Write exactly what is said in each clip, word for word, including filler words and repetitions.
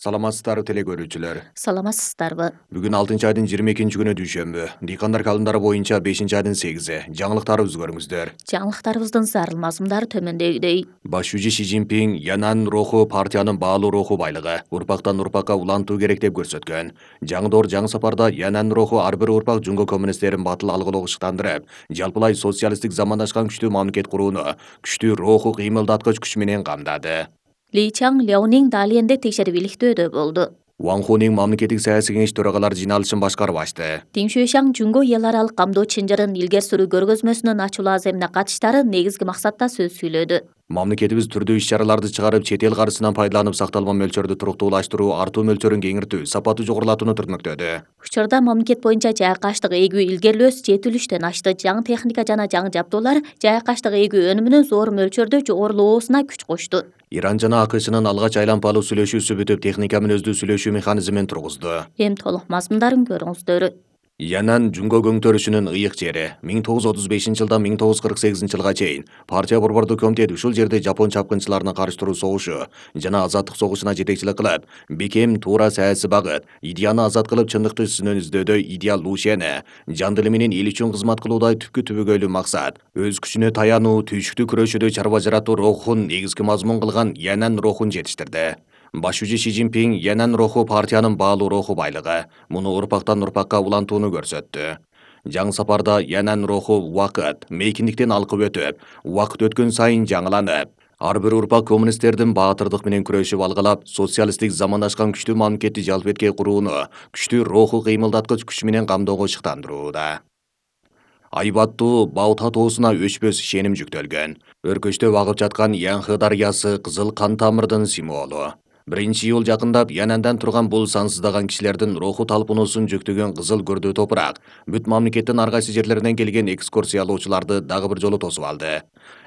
Саламатсыздарбы теле көрүүчүлөр. Саламатсыздарбы. Бүгүн алтынчы айдын жыйырма экинчи күнү дүйшөмбү. Дыйкандар календары боюнча бешинчи айдын сегизи. Жаңылыктарыбызды көрүңүздөр. Жаңылыктарыбыздын зарыл мазмундары төмөндөгүдөй. Баш жүзү Си Цзиньпин Янан руху партиянын баалуу руху байлыгы, урпактан урпакка улантуу керек деп көрсөткөн. Жаңы доор жаңы сапарда Янан руху ар бир урпак жунго коммунисттерин батыл алгылоого ышыктандырып, жалпылай социалисттик замандашкан күчтүү мамлекет курууну күчтүү руху кыймылдаткыч күч менен камдады. Ли Чаң Ляонин Далиенде текшерип иликтөөдө болду. Ван Хунин мамлекеттик саясий кеңеш төрагалары жыйналышын башкарып ачты. Тин Шуйшаң Жунго эл аралык камдоо чынжырын илгери суруу көргөзмөсүнүн ачуулуу аземине катыштары негизги максатта сөз сүйлөдү. Мамлекетибиз түрдүү иш-чараларды чыгарып, чет эл каржысынан пайдаланып сакталма мөлчөрдү туруктуулаштыруу, артуу мөлчөрүн кеңиртүү, сапаты жогорулатууну түртмөктөдү. Учурда мамлекет боюнча жайкаштык эгүү илгерилөөсү жетилиштен ашты. Жаңы техника жана жаңы жабдуулар жайкаштык эгүү өнүмүнүн зор мөлчөрдө жогорулоосуна күч кошту. Иран жана АКШнын алгач айлампалуу сүйлөшүүсү бүтүп, техника менен өздүү сүйлөшүү механизмин тургузду. Эми толук мазмундарын көрүңүздөр. Янан жунго көңтөрүшүнүн ыйык жери. миң тогуз жүз отуз бешинчи жылдан миң тогуз жүз кырк сегизинчи жылга чейин партия борбордук комитет ушул жерде жапон чапкынчыларына каршы туруу согушу жана азаттык согушуна жетекчилик кылып, бекем туура саясий багыт, идеяны азат кылып чындыкты чынын издөөдөй идеал Лушени, жан дили менен эл үчүн кызмат кылуудай түпкү түбөгөйлүү максат, өз күчүнө таянуу, түйшүктүү күрөшүүдө чарба жаратуу рухун негизги мазмун кылган Янан рухун жетиштирди. Баш жүзү Си Цзиньпин Янан руху партиянын баалуу руху байлыгы, муну урпактан урпакка улантууну көрсөттү. Жаңы сапарда Янан руху убакыт, мейкиндиктен алкып өтүп, убакыт өткөн сайын жаңыланып, ар бир урпак коммунисттердин баатырдык менен күрөшүп алгылап, социалисттик замандашкан күчтүү мамлекетти жалпетке курууну күчтүү руху кыймылдаткыч күч менен камдоого ышыктандырууда. Айбаттуу Баота тоосуна өчпөс ишеним жүктөлгөн. Өркөчтөп агып жаткан Янхы дарыясы кызыл кан тамырдын символу. Биринчи июль жакындап Янандан турган бул сансыздаган кишилердин руху талпынуусун жүктөгөн кызыл көрдүү топурак бүт мамлекеттин ар кайсы жерлеринен келген экскурсиялоочуларды дагы бир жолу тосуп алды.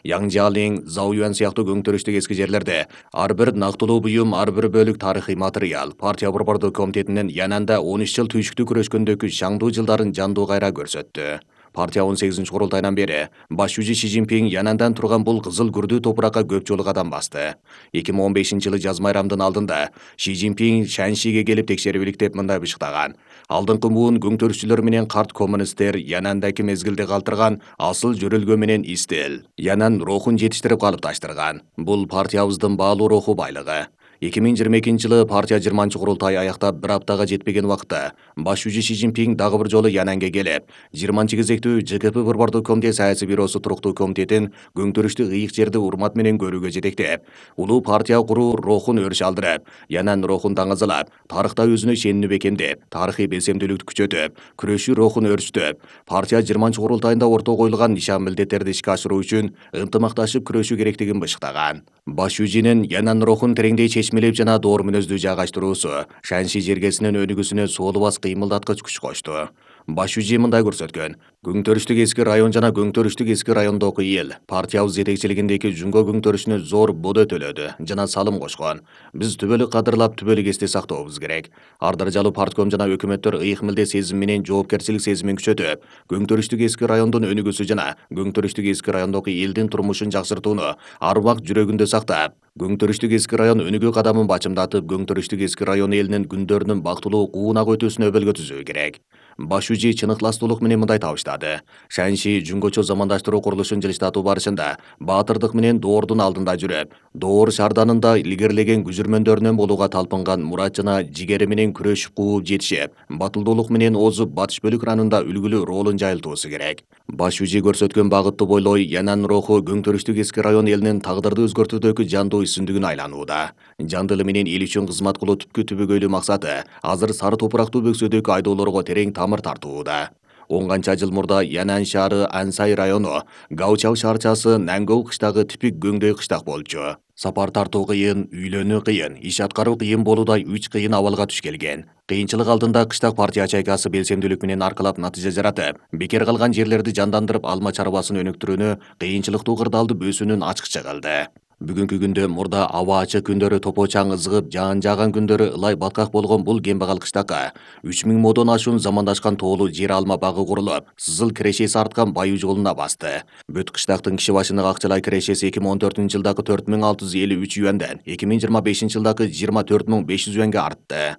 Яңжалин, Заоюан сыяктуу көңтөрүштүк эски жерлерде ар бир нактылуу буюм, ар бир бөлүк тарыхый материал партия борбордук комитетинин Янанда он үч жыл түйшүктүү күрөшкөндөгү шаңдуу жылдарын жандуу кайра көрсөттү. Партия он сегизинчи курултайынан бери баш жүзү Си Цзиньпин Янандан турган бул кызыл күрдүү топуракка көп жолу кадам басты. эки миң он бешинчи жылы жаз майрамдын алдында Си Цзиньпин Шаншиге келип текшерип иликтеп мындай бышыктаган: алдыңкы буун көңтөрүшчүлөр менен карт коммунисттер Янандагы мезгилде калтырган асыл жөрөлгө менен истил, Янан рухун жетиштирип калыпташтырган. Бул партиябыздын баалуу руху байлыгы. эки миң жыйырма экинчи жылы партия жыйырманчы курултай аяктап бир аптага жетпеген убакытта баш жүзү Си Цзиньпин дагы бир жолу Янанга келип, жыйырманчы кезектүү Ж К П борбордук комитет саясий бюросу туруктуу комитетин көңтөрүштүк ыйык жерди урмат менен көрүүгө жетектеп, улуу партия куруу рухун өрүш алдырып, Янан рухун таңазалап, тарыхта өзүнө ишенимди бекемдеп, тарыхый белсемдүүлүктү күчөтүп, күрөшүү рухун өрчүтүп, партия жыйырманчы курултайында орто коюлган нишан милдеттерди ишке ашыруу үчүн ынтымакташып күрөшүү керектигин бышыктаган. Баш жүзүнүн Янан рухун тереңдей чечмелеп жана доор мүнөздүү жайгаштыруусу Шанши жергесинин өнүгүүсүнө суолубас кыймылдаткыч күч кошту. Баш жүзү мындай көрсөткөн: көңтөрүштүк эски район жана көңтөрүштүк эски райондогу эл партиябыз жетекчилигиндеги жунго көңтөрүшүнө зор бодо төлөдү жана салым кошкон. Биз түбөлүк кадырлап, түбөлүк эсте сактообуз керек. Ар даражалуу партком жана өкмөттөр ыйык милдет сезими менен жоопкерчилик сезимин күчөтүп, көңтөрүштүк эски райондун өнүгүүсү жана көңтөрүштүк эски райондогу элдин турмушун жакшыртууну ар убакыт жүрөгүндө сактап, көңтөрүштүк эски район өнүгүү кадамын бачымдатып, көңтөрүштүк эски район элинин күндөрүнүн бактылуу куунак өтүүсүнө өбөлгө түзүү керек. Баш жүзү чын ыхластуулук менен мындай табыштады: Шанши жунгочо замандаштыруу курулушун жылыштатуу барышында баатырдык менен доордун алдында жүрүп, доор шаарданында илгерилеген күжүрмөндөрүнөн болууга талпынган мурат жана жигери менен күрөшүп кууп жетишип, батылдуулук менен озуп, батыш бөлүк ранында үлгүлүү ролун жайылтуусу керек. Баш жүзү көрсөткөн багытты бойлой Янан руху көңтөрүштүк эски район элинин тагдырды өзгөртүүдөгү жандуу исүндүгүн айланууда. Жан дили менен эл үчүн кызмат кылуу түпкү түбөгөйлүү максаты азыр сары топурактуу бөксөдөгү айдоолорго терең тамыр тартууда. он канча жыл мурда Янан шаары Ансай району, Гаучал шаарчасы Нангоу кыштагы типик көңдөй кыштак болчу. Сапар тартуу кыйын, үйлөнүү кыйын, иш аткаруу кыйын болуудай үч кыйын абалга туш келген. Кыйынчылык алдында кыштак партия ячейкасы белсемдүүлүк менен аркылап натыйжа жаратып, бекер калган жерлерди жандандырып алма чарбасын өнүктүрүүнү, кыйынчылыктуу кырдаалды бөөсүүнүн ачкычы кылды. Бүгүнкү күндө мурда аба ачык күндөрү топо чаң ызыгып, жаан жааган күндөрү ылай баткак болгон бул кембагал кыштакка үч миң модон ашуун замандашкан тоолуу жер алма багы курулуп, сызыл кирешеси арткан байуу жолуна басты. Бүт кыштактын киши башына акчалай кирешеси эки миң он төртүнчү жылдагы төрт миң алты жүз элүү үч юанден эки миң жыйырма бешинчи жылдагы жыйырма төрт миң беш жүз юанга артты.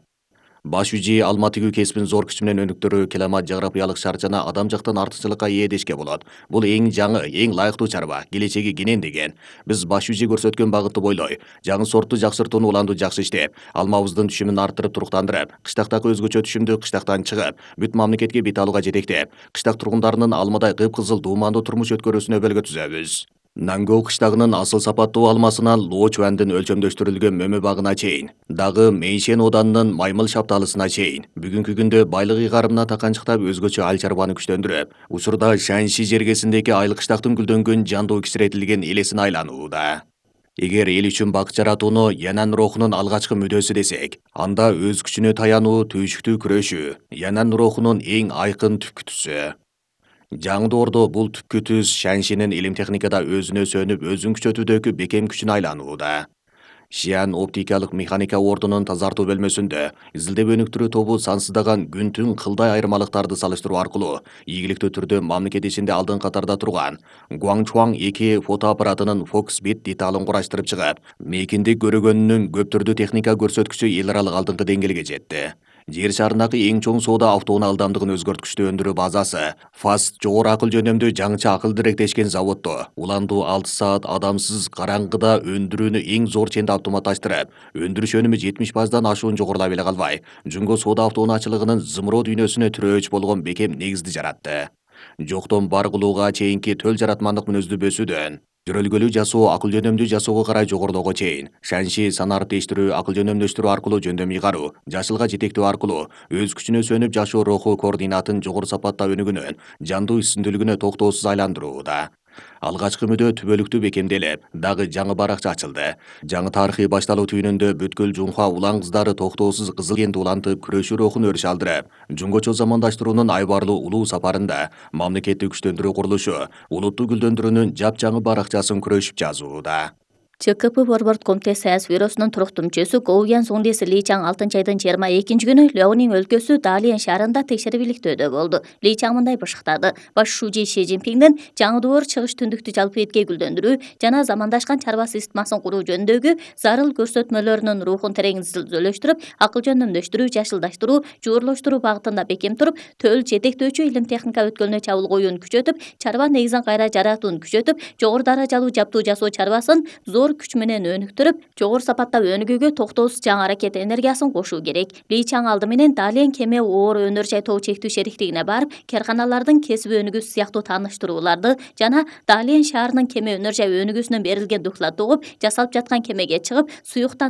Баш үжи алма тигүү кесибин зор күч менен өнүктүрүү климат жаграпиялык шарт жана адам жактан артыкчылыкка ээ дешке болот. Бул эң жаңы, эң лайыктуу чарба, келечеги кенен деген. Биз баш үжи көрсөткөн багытты бойлой, жаңы сортту жакшыртууну уланду жакшы иштеп, алмабыздын түшүмүн арттырып туруктандырып, кыштактагы өзгөчө түшүмдү кыштактан чыгып, бүт мамлекетке бет алууга жетектеп, кыштак тургундарынын алмадай кыпкызыл дуумандуу турмуш өткөрүүсүнө өбөлгө түзөбүз. Нангоо кыштагынын асыл сапаттуу алмасынан Лоо Чуандын өлчөмдөштүрүлгөн мөмө багына чейин, дагы Мейшен оданынын маймыл шапталысына чейин, бүгүнкү күндө байлык ыйгарымына таканчыктап өзгөчө ал чарбаны күчтөндүрүп, учурда Шаньши жергесиндеги айыл кыштактын гүлдөнгөн жандуу кичиретилген элесине айланууда. Эгер эл үчүн бакыт жаратууну Янан рухунун алгачкы мүдөөсү десек, анда өз күчүнө таянуу, түйшүктүү күрөшүү Янан рухунун эң айкын түпкү түсү. Жаңы доордо бул түпкү түс Шаньшинин илим техникада өзүнө сөнүп, өзүн күчөтүүдөгү бекем күчүнө айланууда. Шиан оптикалык механика ордунун тазартуу бөлмөсүндө изилдеп өнүктүрүү тобу сансыздаган күн-түн кылдай айырмалыктарды салыштыруу аркылуу ийгиликтүү түрдө мамлекет ичинде алдыңкы катарда турган Гуаңчуаң эки фотоаппаратынын фокус бет деталын кураштырып чыгып, мейкиндик көрөгөнүнүн көп түрдүү техника көрсөткүчү эл аралык алдыңкы деңгээлге жетти. Жер шарындагы эң чоң соода автоунаа ылдамдыгын өзгөрткүчтүү өндүрүү базасы Фаст жогору акыл жөнөмдүү жаңыча акыл директешкен заводдо уландуу алты саат адамсыз караңгыда өндүрүүнү эң зор ченде автоматташтырып, өндүрүш өнүмү жетимиш пайыздан ашуун жогорулай эле калбай, жунго соода автоунаачылыгынын зымыроо дүйнөсүнө тирөөч болгон бекем негизди жаратты. Жоктон бар кылууга чейинки төл жаратмандык мүнөздүү бөсүүдөн жөрөлгөлүү жасоо, акыл жөнөмдүү жасоого карай жогорулоого чейин Шаньши санаарды тештирүү, акыл жөнөмдөштүрүү аркылуу жөндөм ыйгаруу, жашылга жетектөө аркылуу өз күчүнө сөнүп жашоо руху координатын жогору сапатта өнүгүүнүн жандуу үстүндүүлүгүнө токтоосуз айландырууда. Алгачкы мүдөө түбөлүктүү бекемделип, дагы жаңы баракча ачылды. Жаңы тарыхый башталуу түйүнүндө бүткүл Жунхва улан кыздары токтоосуз кызыл кенди улантып, күрөшүү рухун өрүш алдырып, жунгочо замандаштыруунун айбарлуу улуу сапарында мамлекетти күчтөндүрүү курулушу улутту гүлдөндүрүүнүн жапжаңы баракчасын күрөшүп жазууда. ЧКП Борборд комитет Союз бюросунун туруктуу мүчөсү Гоуян Суңдеси Ли Чаң алтынчы айдын жыйырма экинчи күнү Лёнин өлкөсү Далиен шаарында текшерибиликтөөдө болду. Ли Чаң мындай бышыктады: баш шужи Ши Цзиньпиндин жаңы доор чыгыш түндүктү жалпы этке гүлдөндүрүү жана замандашкан чарба системасын куруу жөнүндөгү зарыл көрсөтмөлөрүнүн рухун терең изилдөөлөштүрүп, акыл жөнөмдөштүрүү, жашылдаштыруу, жуурлаштыруу багытында бекем туруп, төл жетектөөчү илим техника өткөлүнө чабуул коюуну күчөтүп, чарба негизин кайра жаратууну күчөтүп, жогору даражалуу жаптуу жасоо чарбасын зор күч менен өнүктүрүп, жогору сапатта өнүгүүгө токтоосуз жаңы аракет энергиясын кошуу керек. Ли Чаң алды менен Далиен кеме оор өнөр жай тоо чектүү шериктигине барып, карканалардын кесип өнүгүүсү сыяктуу тааныштырууларды жана Далиен шаарынын кеме өнөр жай өнүгүүсүнөн берилген докладды угуп, жасалып жаткан кемеге чыгып, суюктан